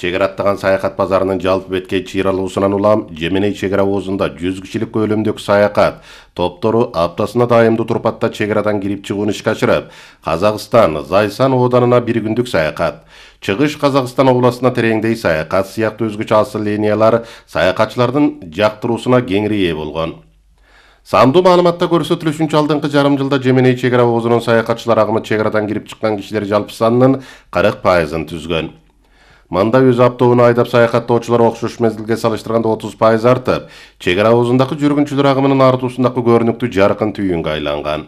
Чек ара аттаган саякат базарынын жалпы беткей чыйралуусунан улам Жеменей чек ара оозунда 100 кишилик көлөмдөгү саякат топтору аптасына дайымдуу турпатта чек арадан кирип чыгууну ишке ашырып, Казакстан Зайсан ооданына бир күндүк саякат, Чыгыш Казакстан областына тереңдей саякат сыяктуу өзгөчө асыл линиялар саякатчылардын жактыруусуна кеңири ээ болгон. Сандуу маалыматта көрсөтүлүшүнчө алдыңкы жарым жылда Жеменей чек ара оозунун саякатчылар агымы чек арадан кирип чыккан кишилер жалпы санынын 40% түзгөн. Мында өз автоунаа айдап саякаттоочулар окшош мезгилге салыштырганда 30% артып, чек ара оозундагы жүргүнчүлөр агымынын артуусундагы көрүнүктүү жаркын түйүнгө айланган.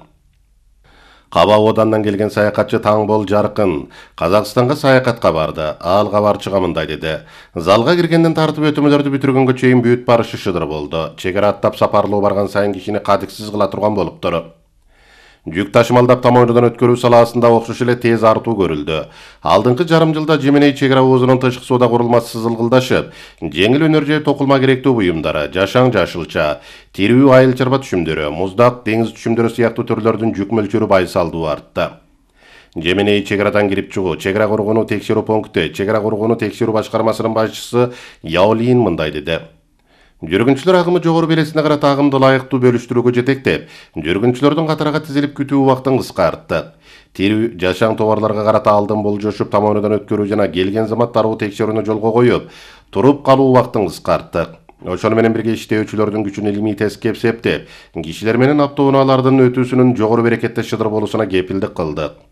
Каба оодандан келген саякатчы Таңбол Жаркын Казакстанга саякатка барды. Ал кабарчыга мындай деди: "Залга киргенден тартып өтөмөлөрдү бүтүргөнгө чейин бүт барышы шыдыр болду. Чек ара аттап сапарлоо барган сайын кишини кадиксиз кыла турган болуптур. Жүк ташымалдап тамоонудан өткөрүү салаасында окшош эле тез артуу көрүлдү. Алдыңкы жарым жылда Жеменей чек ара оозунун тышкы соода курулмасы сызылгылдашып, жеңил өнөр же токулма керектүү буюмдары, жашаң жашылча, тирүү айыл чарба түшүмдөрү, муздак, деңиз түшүмдөрү сыяктуу түрлөрдүн жүк мөлчөрү байсалдуу артты. Жеменей чек арадан кирип чыгуу, чек ара коргонуу текшерүү пункти, чек ара коргонуу текшерүү башкармасынын башчысы Яолин мындай деди: "Жүргүнчүлөр агымы жогору белесине карата агымды ылайыктуу бөлүштүрүүгө жетектеп, жүргүнчүлөрдүн катарга тизилип күтүү убактын кыскарттык. Тирүү, жашаң товарларга карата алдын болжошуп тамоонудан өткөрүү жана келген замат дароо текшерүүнү жолго коюп, туруп калуу убактын кыскарттык. Ошону менен бирге иштөөчүлөрдүн күчүн илимий тескеп септеп, кишилер менен автоунаалардын өтүүсүнүн жогору берекетте шыдыр болуусуна кепилдик кылдык."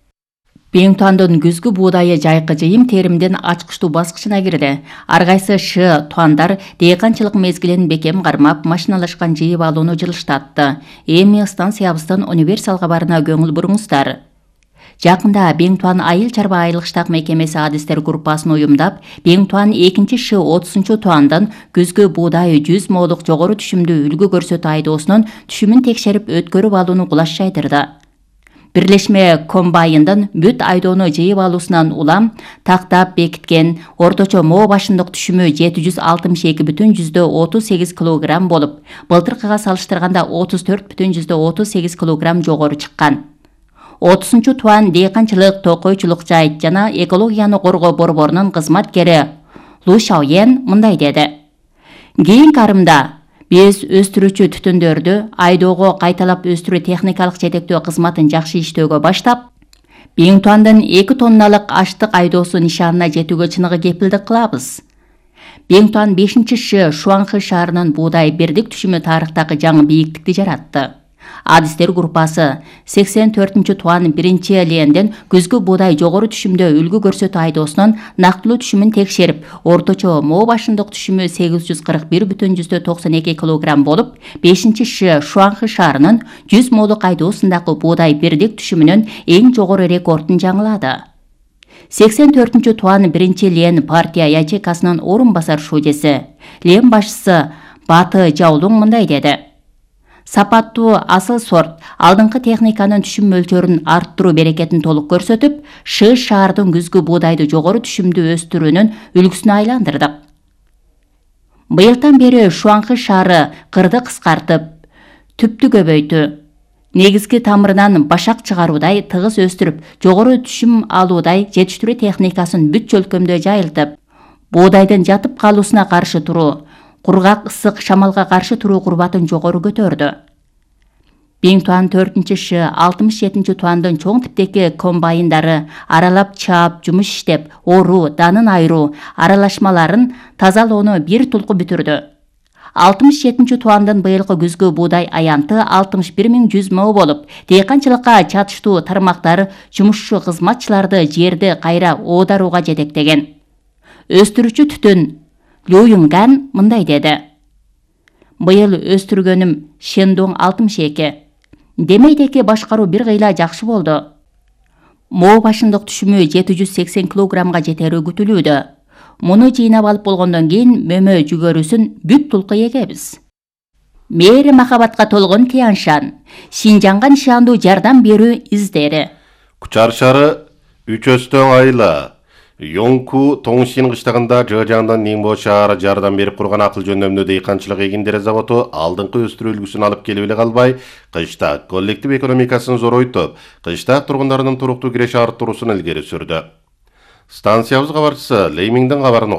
Бең-Туандын күзгү буудайы жайкы жыйым теримдин ачкычтуу баскычына кирди. Ар кайсы туандар дыйканчылык мезгилин бекем кармап, машиналашкан жыйып алууну жылыштатты. Эми станциябыздын универсал кабарына көңүл буруңуздар. Жакында Бең-Туан айыл чарба айылыштак мекемеси адистер группасын уюмдап, Бең-Туан 2 30-туандан күзгү буудай 100 молук жогору түшүмдүү үлгү көрсөтүү айдоосунун түшүмүн текшерип өткөрүп алууну кулаш жайдырды. Бирлешме комбайндын бүт айдоону жыйып алуусунан улам тактап бекиткен орточо моо башындык түшүмү 762,38 кг болуп, былтыркыга салыштырганда 34,38 кг жогору чыккан. 30-туан дыйканчылык, токойчулук жайыт жана экологияны коргоо борборунун кызматкери Лу Шаоен мындай деди: "Кийинки арымда биз өстүрүүчү түтүндөрдү айдоого кайталап өстүрүү техникалык жетектөө кызматын жакшы иштөөгө баштап, Бең-Туандын 2 тонналык аштык айдоосу нишанына жетүүгө чыныгы кепилдик кылабыз." Бең-Туан 5 Шуанхы шаарынын буудай бирдик түшүмү тарыхтагы жаңы бийиктикти жаратты. Адистер группасы 84-туан 1-ленден күзгү буудай жогору түшүмдө үлгү көрсөтүү айдоосунун нактылуу түшүмүн текшерип, орточо моо башындык түшүмү 841,92 кг болуп, 5 Шуанхы шаарынын 100 молук айдоосундагы буудай бирдик түшүмүнүн эң жогору рекордун жаңылады. 84-туан 1-лен партия ячейкасынын орун басар шуудеси, Лен башчысы Баты Жаолуң мындай деди: "Сапаттуу асыл сорт алдыңкы техниканын түшүм мөлчөрүн арттыруу берекетин толук көрсөтүп, шаардын күзгү буудайды жогору түшүмдүү өстүрүүнүн үлгүсүнө айландырдык. Быйылдан бери Шуанхы шаары кырды кыскартып, түптү көбөйтү, негизги тамырынан башак чыгаруудай тыгыз өстүрүп, жогору түшүм алуудай жетиштирүү техникасын бүт чөлкөмдө жайылтып, буудайдын жатып калуусуна каршы туруу, кургак ысык шамалга каршы туруу курбатын жогору көтөрдү." Бең-Туан 4-67-туандын чоң типтеги комбайндары аралап чаап, жумуш иштеп, оруу, данын айыруу, аралашмаларын тазалоону бир тулку бүтүрдү. 67-туандын быйылкы күзгү буудай аянты 61.100 мо болуп, дыйканчылыкка чатыштуу тармактар жумушчу кызматчыларды жерди кайра оодарууга жетектеген. Өстүрүүчү түтүн Лю Юнган мындай деди: "Быйыл өстүргөнүм Шендоң 62. Демейдеги башкаруу бир кыйла жакшы болду. Моо башындык түшүмү 780 кг жетери күтүлүүдө. Муну жыйнап алып болгондон кийин мөмө жүгөрүсүн бүт тулку эгебиз." Мээри махабатка толгон Тяншан, Шинжаңга нишандуу жардам берүү издери. Кучар шаары Үчөстөң айла Йонку Тоңшин кыштагында Жыжаңдан Нимбо шаары жардам берип курган акыл жөндөмдүү дыйканчылык эгиндери заводу алдыңкы өстүрүү үлгүсүн алып келип эле калбай, кыштак коллектив экономикасын зоройтуп, кыштак тургундарынын туруктуу киреше арттыруусун илгери сүрдү. Станциябыз кабарчысы Леймиңдин кабарын